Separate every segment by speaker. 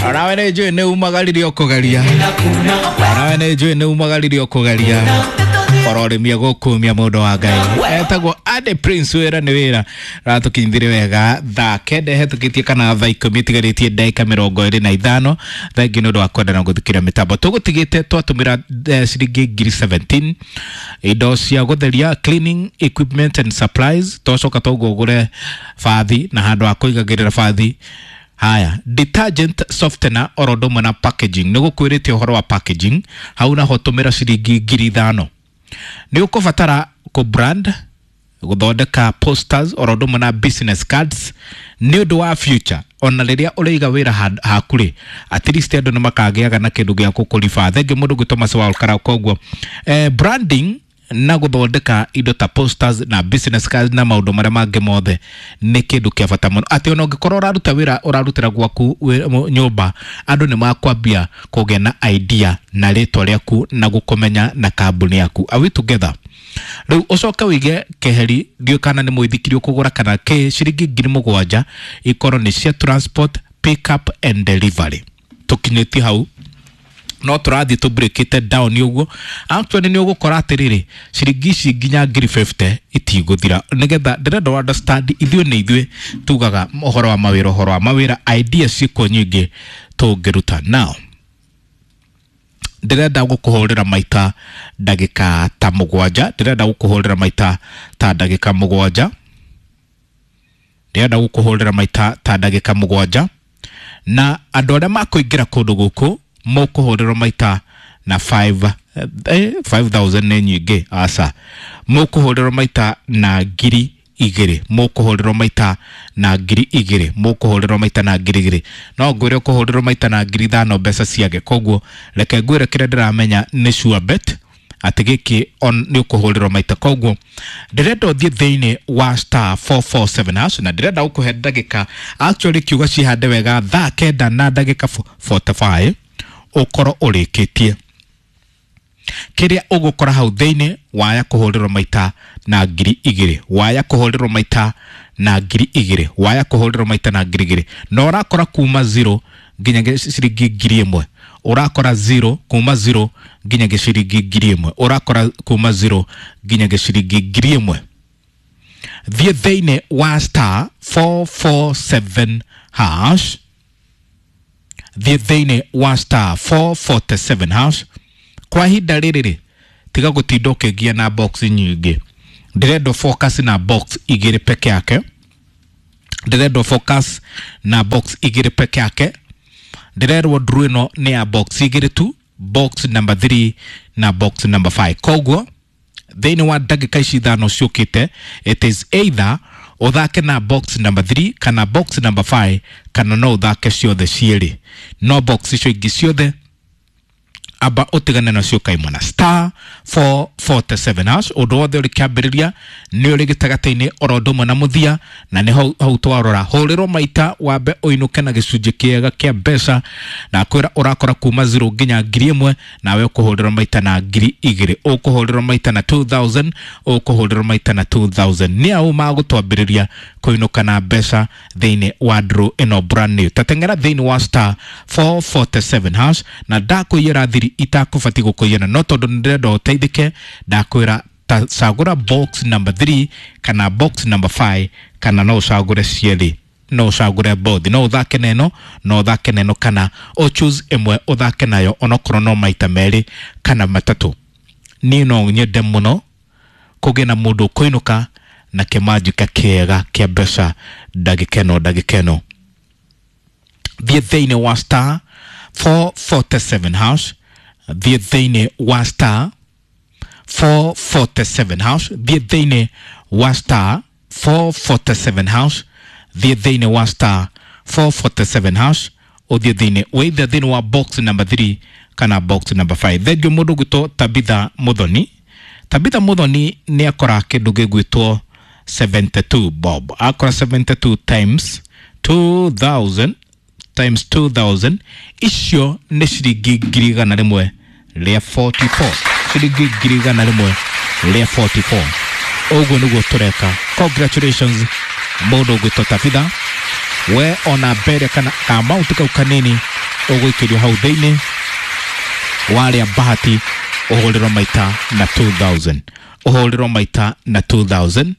Speaker 1: Onawe nĩ njũĩ nĩ umagaririe ũkũgeria. Onawe nĩ njũĩ nĩ umagaririe ũkũgeria. Ororimia gũkumia mũndũ wa Ngai. Etagwo Ade Prince, wĩra nĩ wĩra. Ratũkinyithirie wega thaa 9 hetũkĩtie kana thaa 10 itigarĩtie ndagĩka 25. Thengi nĩ ũndũ wa kwenda na gũthikĩrĩria mĩtambo. Tũgũtigĩte twatũmĩra ciringi ngiri 17 indo cia gũtheria, cleaning equipment and supplies. Twacoka twaguo ũgũre bathi na handũ ha kũigagĩrĩra bathi. Haya, detergent, softener oro ũndũ ũmwe na packaging. Nĩ gũkwĩrĩte ũhoro wa packaging hau naho tũmĩra ciringi ngiri 5. Nĩ ũkũbatara kũ brand, gũthondeka posters oro ũndũ ũmwe na business cards nĩ ũndũ wa future. Ona rĩrĩa ũrĩiga wĩra haku rĩ, at least andũ nĩ makagĩaga na kĩndũ gĩa gũkũriba. Thengiũ mũndũ gwĩtwo Mercy wa Olkara. Koguo branding na gũthondeka indo ta posters na business cards na maũndũ marĩa mangĩ mothe nĩ kĩndũ kĩa bata mũno, atĩ ona ũngĩkorwo ũraruta wĩra ũrarutĩra gwaku nyũmba, andũ nĩ makwambia kũgĩa na idea na rĩtwa rĩaku na gũkũmenya na kambuni yaku. Are we together? Rĩu ũcoke ũige keheri, ndiũĩ kana nĩ mũithikiri ũkũgũra kana kĩ, ciringi ngiri 7 ikorwo nĩ cia transport, pick up and delivery. Tũkinyĩtie hau no tũrathiĩ tũ breakĩte down ũguo. Actually nĩ ũgũkora atĩrĩrĩ, ciringi ici nginya ngiri 50 itigũthira, nĩgetha ndĩrenda ũ understand ithuĩ nĩ ithuĩ tugaga ũhoro wa mawĩra, ũhoro wa mawĩra idea ciĩkuo nyingĩ tũngĩruta. Now ndĩrenda gũkũhũrĩra maita ndagĩka ta 7, ndĩrenda gũkũhũrĩra maita ta ndagĩka 7, ndĩrenda gũkũhũrĩra maita ta ndagĩka 7, na andũ arĩa makũingĩra kũndũ gũkũ mũkũhũrĩrwo maita na 5, 5000 nĩ nyingĩ, aca, mũkũhũrĩrwo maita na ngiri 2, mũkũhũrĩrwo maita na ngiri 2, mũkũhũrĩrwo maita na ngiri 2. No ngwĩre ũkũhũrĩrwo maita na ngiri 5 mbeca ciage. Koguo reke ngwĩre kĩrĩa ndĩramenya nĩ sure bet atĩ gĩkĩ nĩ ũkũhũrĩrwo maita. Koguo ndĩrenda ũthiĩ thĩinĩ wa star 447 hash, na ndĩrenda gũkũhe ndagĩka actually kiuga cihande wega thaa 9 na ndagĩka 45 ũkorwo ũrĩkĩtie kĩrĩa ũgũkora hau thĩinĩ. Waya kũhũrĩrwo maita na ngiri 2, waya kũhũrĩrwo maita na ngiri 2, waya kũhũrĩrwo maita na ngiri 2, na ũrakora kuma 0 nginya ciringi ngiri 1, ũrakora 0 kuma 0 nginya ciringi ngiri 1, ũrakora kuma 0 nginya ciringi ngiri 1. Thiĩ thĩinĩ wa star 447 hash, thiĩ thĩinĩ wa star 447 hash. Kwa ihinda rĩrĩ rĩ, tiga gũtinda ũkĩngia na box nyingĩ, ndĩrenda focus na box 2 peke yake, ndĩrenda focus na box 2 peke yake. Ndĩrerwo nduru ĩno nĩ ya box 2 tu, box number 3 na box number 5. Koguo thĩinĩ wa ndagĩka ici 5 ciũkĩte, it is either ũthake na box number 3 kana box number 5, kana no ũthake ciothe cierĩ, no box icio ingĩ ciothe amba ũtigane nacio kaimana. Star 447 hash, ũndũ wothe ũrĩ kĩambĩrĩria nĩ ũrĩ gĩtagatĩ-inĩ oro ũndũ ũmwe na mũthia, na nĩ hau twarora. Hũrĩrwo maita wambe ũinũke na gĩcunjĩ kĩega kĩa mbeca, na kwĩra ũrakora kuma 0 nginya ngiri 1, nawe ũkũhũrĩrwo maita na ngiri 2, ũkũhũrĩrwo maita na 2000, ũkũhũrĩrwo maita na 2000. Nĩ au magũtwambĩrĩria kũinũka na mbeca thĩinĩ wa draw ĩno brand new. Tateng'era thĩinĩ wa star 447 hash, na ndakũiyĩra thiri itakũbatiĩ gũkũiyĩra, no tondũ nĩndĩrenda ũteithĩke, ndakwĩra ta cagũra box number 3 kana box number 5, kana no ũcagũre cierĩ, no ũcagũre both, no ũthake na ĩno, no ũthake na ĩno, kana ũ choose ĩmwe ũthake nayo onokorwo no maita 2 kana 3. Niĩ no nyende mũno kũgĩe na mũndũ ũkũinũka na kĩmanjĩka kĩega kĩa mbeca ndagĩka ĩno, ndagĩka ĩno. Thiĩ thĩinĩ wa star 447 hash, thiĩ thĩinĩ wa star 447 hash, thiĩ thĩinĩ wa star 447 hash, thiĩ thĩinĩ wa star 447 hash, ũthiĩ thĩinĩ wĩithe thĩinĩ wa box number 3 kana box number 5. Thengiũ mũndũ ũgwĩtwo Tabitha Muthoni. Tabitha Muthoni nĩ akora kĩndũ gĩgwĩtwo 72 bob, akora 72 times 2000 times 2000, icio nĩ ciringi ngiri 144, ciringi ngiri 144. Ũguo nĩguo tũreka. Congratulations mũndũ ũgwĩtwo Tabitha. We ona mbere kana kaamauti kau kanini ũgũikĩrio hau thĩinĩ warĩa bahati ũhũrĩrwo maita na 2000, ũhũrĩrwo maita na 2000,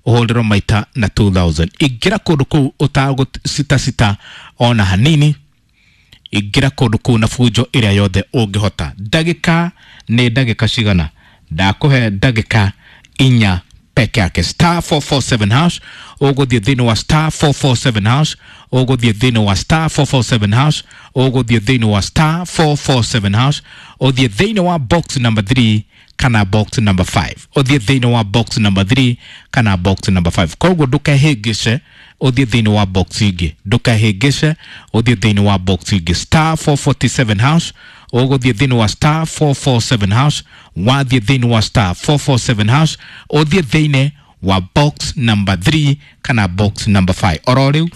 Speaker 1: ũhũrĩrwo maita na 2000. Ingĩra kũndũ kũu ũtagũcitasita ona hanini. Ingĩra kũndũ kũu na bunjo ĩrĩa yothe ũngĩhota. Ndagĩka nĩ ndagĩka cigana? Ndakũhe ndagĩka 4 peke yake. Star 447 hash, ũgũthiĩ thĩinĩ wa star 447 hash, ũgũthiĩ thĩinĩ wa star 447 hash, ũgũthiĩ thĩinĩ wa star 447 hash, ũthiĩ thĩinĩ wa box number 3 kana box number 5, ũthiĩ thĩinĩ wa box number 3 kana box number 5. Koguo ndũkehĩngĩce ũthiĩ thĩinĩ wa box ingĩ, ndũkehĩngĩce ũthiĩ thĩinĩ wa box ingĩ. Star 447 hash, ũgũthiĩ thĩinĩ wa star 447 hash, wathiĩ thĩinĩ wa star 447 hash, ũthiĩ thĩinĩ wa box number 3 kana box number 5 oro rĩu.